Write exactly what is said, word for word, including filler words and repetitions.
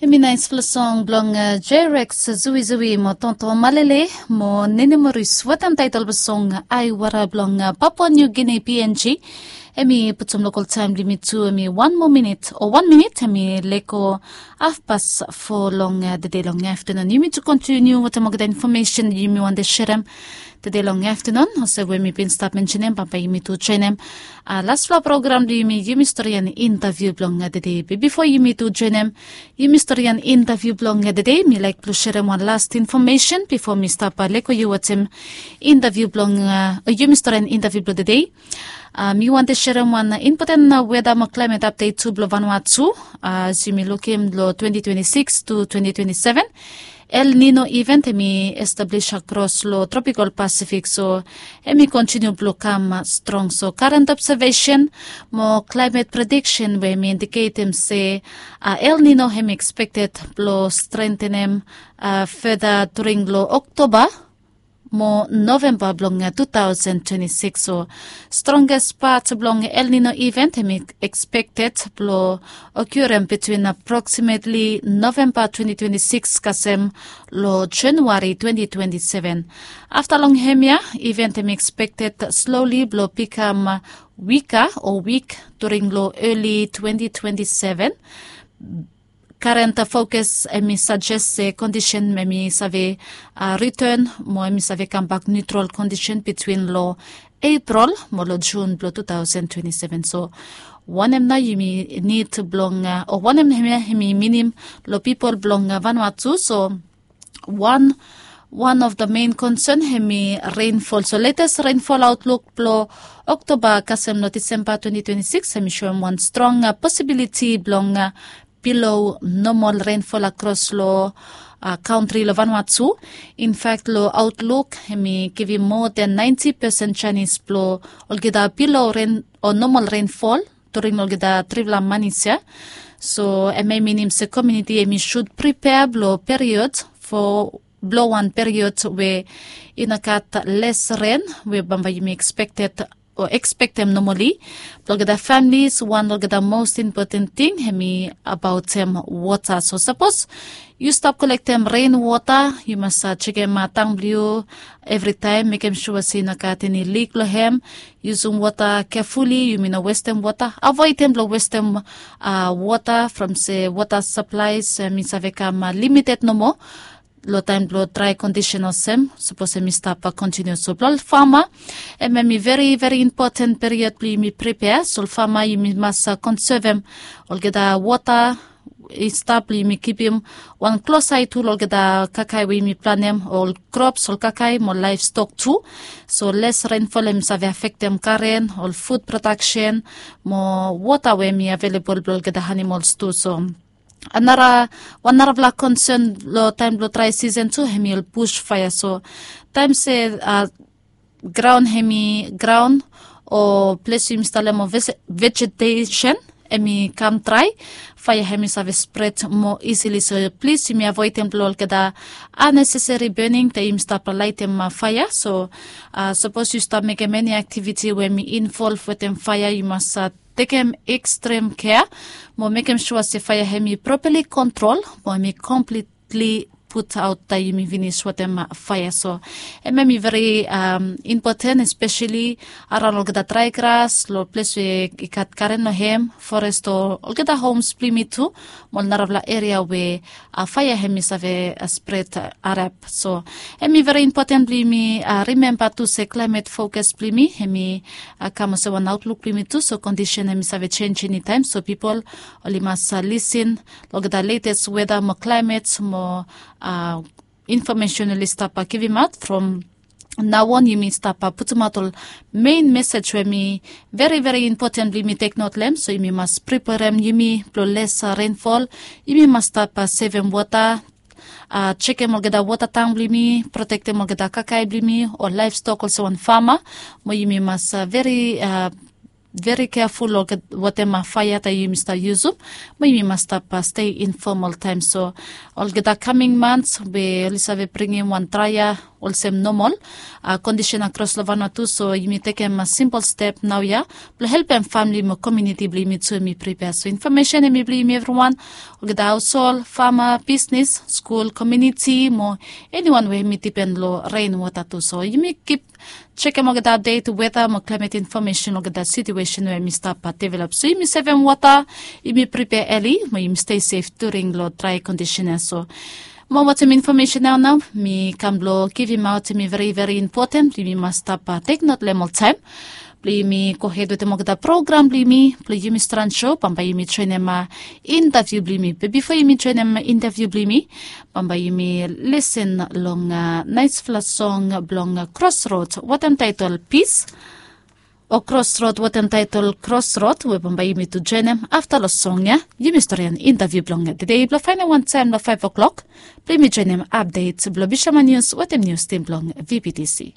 Hemi naispela song blong J-Rex, Zuizui mo Tonto Malele mo Nene Moris wetem taitol blong song Aiwara blong Papua New Guinea, P N G. Hemi putum lokal taem blong yumi tu, hemi wan moa minit o wan minit hemi lego hafpas fo long tede long aftanun. Yumi tu kontiniu wetem olgeta infomesen yumi wantem serem tede long aftanun. Olsem we mi bin stap mensenem, bambae yumi tu joenem laspela program blong yumi, yumi storian intaviu blong tede. Be bifo yumi tu joenem yumi storian intaviu blong tede, mi laik blong serem wan las infomesen bifo mi stap lego yu wetem intaviu blong, o yumi storian intaviu blong tede. Mi wantem serem wan impoten weda mo klaimet apdet tu blong Vanuatu. As yumi lukim long twenty twenty-six to twenty twenty-seven, El Nino event hemi establis akros long tropikal Pasifik, so hemi kontiniu blong kam strong. So karen obsevesen mo klaimet prediksen we hemi indiketem se El Nino hemi ekspekted blong strentenem feda during long Oktoba mo Novemba blong two thousand twenty-six. So strongest part blong El Nino event hemi ekspekted blong okurem between approximately Novemba twenty twenty-six kasem long January twenty twenty-seven. Afta long hemia, event hemi ekspekted slowly blong bikam wika o wik during long early twenty twenty-seven. Karen fokus hemi sajest se kondisen hemi save return mo hemi save kambak niutral kondisen between long April mo long Jun blong two thousand twenty-seven. So wanem nao yumi nid blong, o wanem hemia hemi minim long pipol blong Vanuatu? So wan, wan of the main concern hemi rainfall. So latest rainfall outlook blong Oktoba kasem long Disemba twenty twenty-six hemi soem wan strong posibiliti blong below normal rainfall akros long kantri long Vanuatu. In fact, long outlook hemi givim moa than ninety percent janis blong olgeta below rain o normal rainfall during olgeta trifala manis ya. So hemia i minim se komuniti hemi sud pripea blong period fo blong wan period we i no gat les ren we bambae yumi ekspekted o ekspektem nomali. Blong olgeta familis, wan olgeta most impoten ting hemi abaotem wota. So sapos yu stap kolektem ren wota, yu mas jekem tang blong yu evritaem, mekem sua se i no gat eni lik long hem. Yusum wota kefuli, yumi no westem wota. Avoedem blong westem wota from se wota saplaes hemi save kam limited nomo long taem blong drae kondisen olsem, sapos hemi stap kontiniu. So blong ol fama, hemia hemi veri veri impoten period blong yumi pripea. So ol fama, yumi mas konsevem olgeta wota i stap blong yumi kipim wan klos ae tu long olgeta kakae we yumi planem, ol krops, ol kakae mo laevstok tu. So les renfol hemi save afektem garen, ol fud prodaksen mo wota we hemi avelebol blong olgeta animols tu. So anara, wan narafala konsen long taem blong drae sisen tu hemi ol bus faea. So taem se graon hemi, graon o ples yumi stap lem o vejetesen hemi kam drae, faea hemi save spred moa isili. So plis yumi avoedem blong olgeta aneseseri bening taem yumi stap laetem faea. So sapos yu stap mekem eni aktiviti we hemi involv wetem faea, yu mas tekem ekstrem kea mo mekem sua se faea hemi propali kontrol mo hemi komplit li put aot taem yumi finis wetem faea. So hemia hemi veri impoten, espeseli araon olgeta drae gras, long ples we i gat garen long hem, forest o olgeta homs blong yumi tu mo ol narafala eria we faea hemi save spred harap. So hemi veri impoten blong yumi rimemba tu se klaemet fokas blong yumi hemi kam olsem wan aotluk blong yumi tu. So kondisen hemi save jenj enitaem. So pipol oli mas lisin long olgeta letes weda mo klaemet mo infomesen oli stap givimaot from naoan. Yumi stap putumaot ol mein mesej we hemi veri veri impoten blong yumi teknot long hem. So yumi mas priperem yumi blong les renfol. Yumi mas stap sevem wota, jekem olgeta wota tang blong yumi, protektem olgeta kakae blong yumi o laevstok olsem wan fama. Mo yumi mas veri veri keaful long watem faea taem yumi stap yusum. Mo yumi mas stap stei infom oltaem. So olgeta kaming mans we oli save bringim wan draea olsem nomol kondisen akros long Vanuatu. So yumi tekem simpol step naoia blong helpem famili mo komuniti blong yumi tu mi pripea. So infomesen em i blong yumi evriwan, olgeta haoshol, fama, bisnes, skul, komuniti mo eniwan we em i dipen long ren wota tu. So yumi kip jekem olgeta apdet weta mo klaimet infomesen olgeta situesen we em i stap develop. So yumi sevem wota, yumi pripea eli mo yumi stei sef during long drae kondisen ya. So mo watem infomesen nao nao mi kam blong givimaot em i veri veri impoten blong yumi mas stap teknot long em oltaem. Blong yumi gohed wetem olgeta program blong yumi blong yumi stran sho bambae yumi joenem intaviu blong yumi be bifo yumi joenem intaviu blong yumi bambae yumi lesen long naesfala song blong Crossroad wetem taetol Pis, o Crossroad wetem taetol Crossroad we bambae yumi tu joenem afta long song ya. Yumi storian intaviu blong tedei blong faenem wantaem long faef oklok blong yumi joenem apdet blong Bishaman Nius wetem nius tim blong V P T C.